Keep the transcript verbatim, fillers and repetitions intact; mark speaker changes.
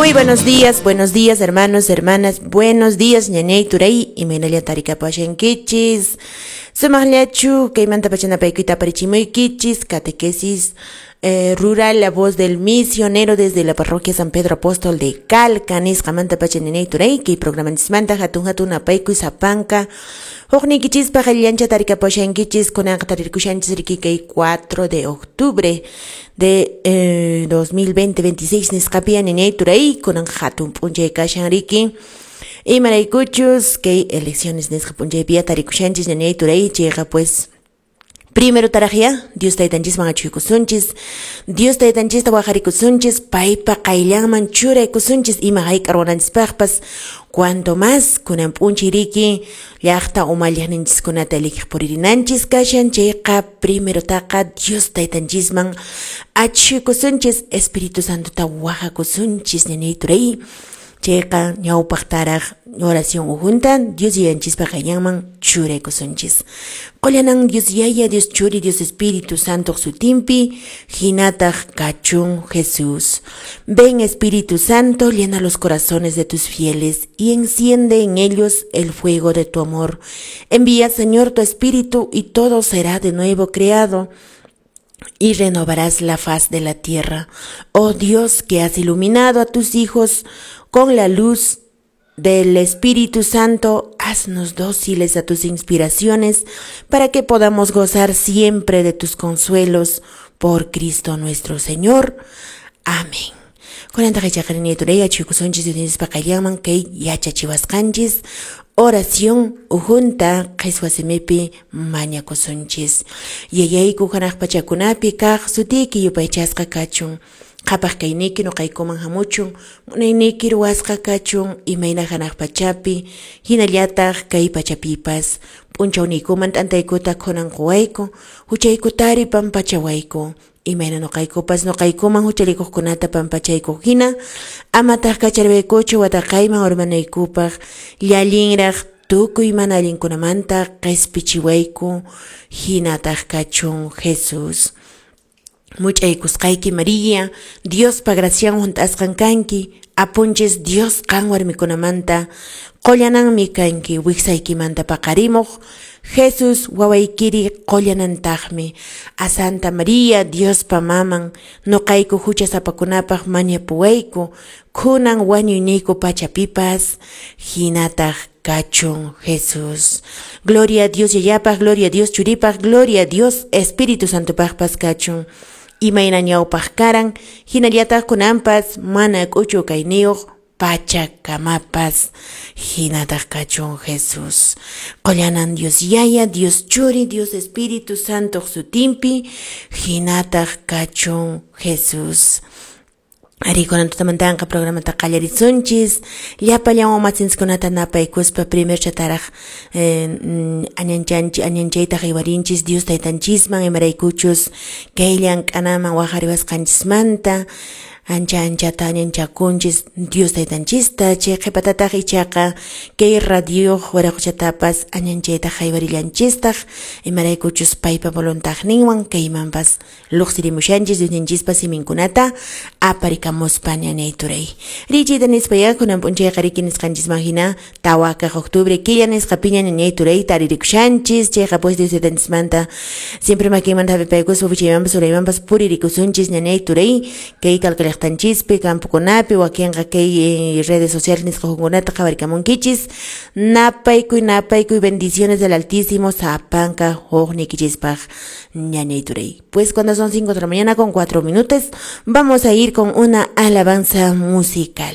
Speaker 1: Muy buenos días, buenos días, hermanos, hermanas, buenos días, ñañay turay, imaynalla tarikapashankichis, sumaqllachu, kaymanta pachanapaykuta aparichimuykichis, catequesis eh, rural, la voz del misionero desde la parroquia San Pedro Apóstol de Calca, nisqamanta pacha ñañay turay, kay programanchismanta hatun hatun apaykuy sapanka, hukniykichispa qallillancha tarikapashankichis, kunanqa tarirkushanchis riki kay cuatro de octubre de eh, dos mil veinte, veintiséis nisqapiya ñañay turay, kunanqa hatun p'unchay kashan riki, imaraykuchus kay elecciones nisqa p'unchaypiya tarikushanchis ñañay turay, chayqa pues primero tarajya, Dios taytanchisman achuykusunchis, Dios taytanchista wajarikusunchis, paypa qayllanman churaykusunchis, ima hayk'a ruwananchispaqpas, cuanto más kunan p'unchay riki llaqta umalliqninchiskunata eligiq puririnanchis kashan, chayqa primero taqa Dios taytanchisman achuykusunchis, Espíritu Santota wajakusunchis ñañay turay, chayqa ñawpaqtaraq oración ujunta Dios yayanchispa qayllanman churaykusunchis. Qollanan Dios Yaya, Dios Churi, Dios Espíritu Santo sutinpi, hinataq kachun Jesús. Ven Espíritu Santo, llena los corazones de tus fieles y enciende en ellos el fuego de tu amor. Envía, Señor, tu Espíritu y todo será de nuevo creado y renovarás la faz de la tierra. Oh Dios, que has iluminado a tus hijos con la luz del Espíritu Santo, haznos dóciles a tus inspiraciones para que podamos gozar siempre de tus consuelos por Cristo nuestro Señor. Amén. Oración ujunta qhiswa simipi mañakusunchis. Yayayku hanaq pachakunapi kaq sutiyki yupaychasqa kachun. Qhapaq kayniyki nuqaykuman hamuchun, munayniyki ruwasqa kachun, imayna hanaq pachapi, hinallataq kay pachapipas. P'unchawniykuman t'antaykuta khunan quwayku, huchaykutari pampachawayku. Imayna nuqaykupas nuqaykuman huchallikuqkunata pampachaykuq hina, amataq kacharwaykuchu wataqayman urmanaykupaq, llallinraq tukuy mana allinkunamanta qispichiwayku, hinataq kachun Jesús. Much'aykusqayki María, Diospa gracian hunt'asqan kanki, apunchis Dios qan warmikunamanta, qullananmi kanki wiksaykimanta paqarimuq, Jesús wawaykiri qullanantaqmi. A Santa María, Diospa maman, nuqayku huchasapakunapaq mañapuwayku, kunan wañuyniyku pachapipas, hinataq kachun Jesús. Gloria a Dios Yayapaq, gloria a Dios Churipaq, gloria a Dios Espíritu Santopaqpas kachun. Imayna ñawpaq karan, hinallataq kunanpas mana k'uchu kayniyuq pachakamapas, hinataq kachun Jesús. Qollanan Dios Yaya, Dios Churi, Dios Espíritu Santo sutinpi, hinataq kachun Jesús. Ari kunan tutamantanqa programata qallarisunchis, llapallan umachinskunata napaykuspa primer chataraq eh, añanchanchi añanchayta haywarinchis Dios taytanchisman imaraykuchus kay llank'anaman waqariwasqanchismanta ancha anchata añanchakunchis Dios taytanchista, chay qhipatataq ichaqa kay radio waraquchatapas añanchayta haywarillanchistaq imaraykuchus paypa voluntadninwan kaymanpas luqsirimushanchis Diosninchispa siminkunata aparikamuspa ñañay turay. Richita nispaya kunan p'unchayqa riki nisqanchisman hina tawakaq octubre killa nisqapiña ñañay turay taririkushanchis, chayqa pues Dios taytanchismanta siempre makinmanta hap'ipaykuspa wichaymanpas uraymanpas puririkusunchis ñañay turay kay Calca llaqtanchispi campokunapi wakinqa kay eh, redes sociales nisqakunata qhawarikamunkichis. Napaykuy napaykuy bendiciones del Altísimo sapanka hukniykichispaq ñañay turay. Pues cuando son cinco de la mañana con cuatro minutos vamos a ir con una alabanza musical.